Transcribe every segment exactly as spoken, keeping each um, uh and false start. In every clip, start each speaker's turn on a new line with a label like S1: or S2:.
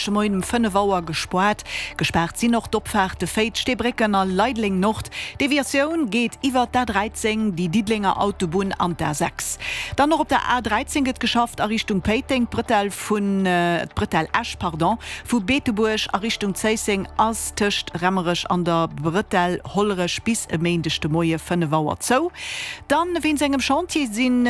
S1: De Moien um fënnef Auer gespoart. Gespaart sinn och d'Opfaarte Féiz, Steebrécken a Leideleng Nord. Deviatioun geet iwwert d'A dräizéng, déi Diddelenger Autobunn an d'A sechs. Dann och op der A dräizéng gëtt geschafft a Richtung Péiteng. D'Bretelle vun, d'Bretelle Esch, pardon, vu Beetebuerg a Richtung Zéisseng ass tëscht Rammerech an der Bretelle Hollerech bis e Méindeg de Moie fënnef Auer zou. Dann wéinst engem Chantier sinn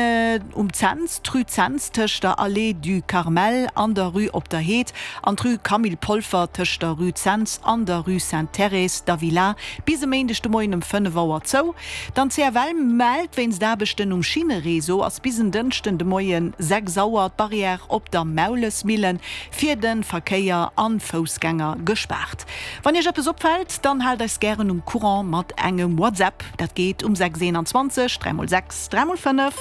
S1: um Cents, d'Rue Cents tëscht der Allée du Carmel an der Rue Op der Heed an d'Rue Camille Polfer tëscht der Rue Cents an der Rue Sainte Thérèse d'Avila bis e Méindeg de Moien um fënnef Auer zou. Dann d'C F L mellt, wéinst Aarbechten um Schinnereseau ass bis en Dënschden de Moien sechs Auer d'Barrière op der Maulesmillen fir de Verkéier an Foussgänger gespaart. Wann Iech eppes opfält, dann haalt eis gären um Courant mat engem WhatsApp. Dat geet um sechs eenanzwanzeg dräi mol sechs dräi mol fënnef.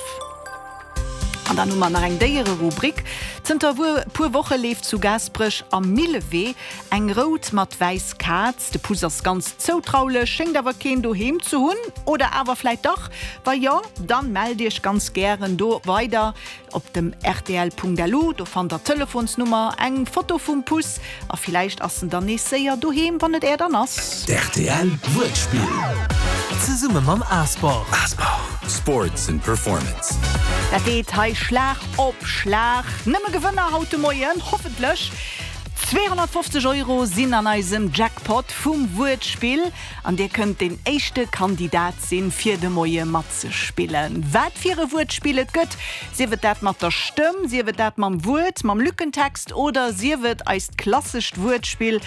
S1: An dann hu mer nach eng Déiererubrik. Zënter puer Woche leeft zu Gaasperech am Millewee eng rout mat wäiss Kaz. De Puss ass ganz zoutraulech, schéngt awer keen doheem ze hunn. Oder awer vläit dach? Wa jo, dann mellt iech ganz gären do weider op dem rtl Punkt L U. Do fannt der d'Telefonsnummer, eng Foto vum Puss a villäicht ass en dann nees séier doheem, wann et är dann ass.
S2: D' R T L Wuertspill.
S3: Zesumme mam A-Sport.
S2: A-Sport. Sports and Performance.
S1: Dat geet hei Schlag op Schlag. Nëmme Gewënner haut de Moien, hoffentlech. zweehonnertfofzeg Euro sinn an eisem Jackpot vum Wuertspill an dir kënnt den éischte Kandidat sinn, fir de Moie matzespillen. Wat fir e Wuertspill et gëtt, sief et dat mat der Stëmm, sief et dat mam Wuert, mam Lückentext oder sief et eist klassescht Wuertspill,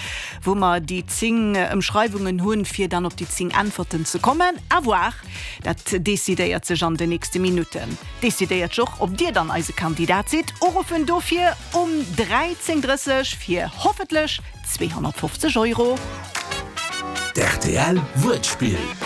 S1: wou mer déi zéng Ëmschreiwungen hunn, fir dann op déi zéng Äntwerten ze kommen. À voir, dat decidéiert sech an den nächste Minutten. Decidéiert sech och, ob dir dann eise Kandidat sidd. Uruffen dofir um dräizéng drësseg fir hoffentlech zweehonnertfofzeg Euro.
S2: D' R T L Wuertspill.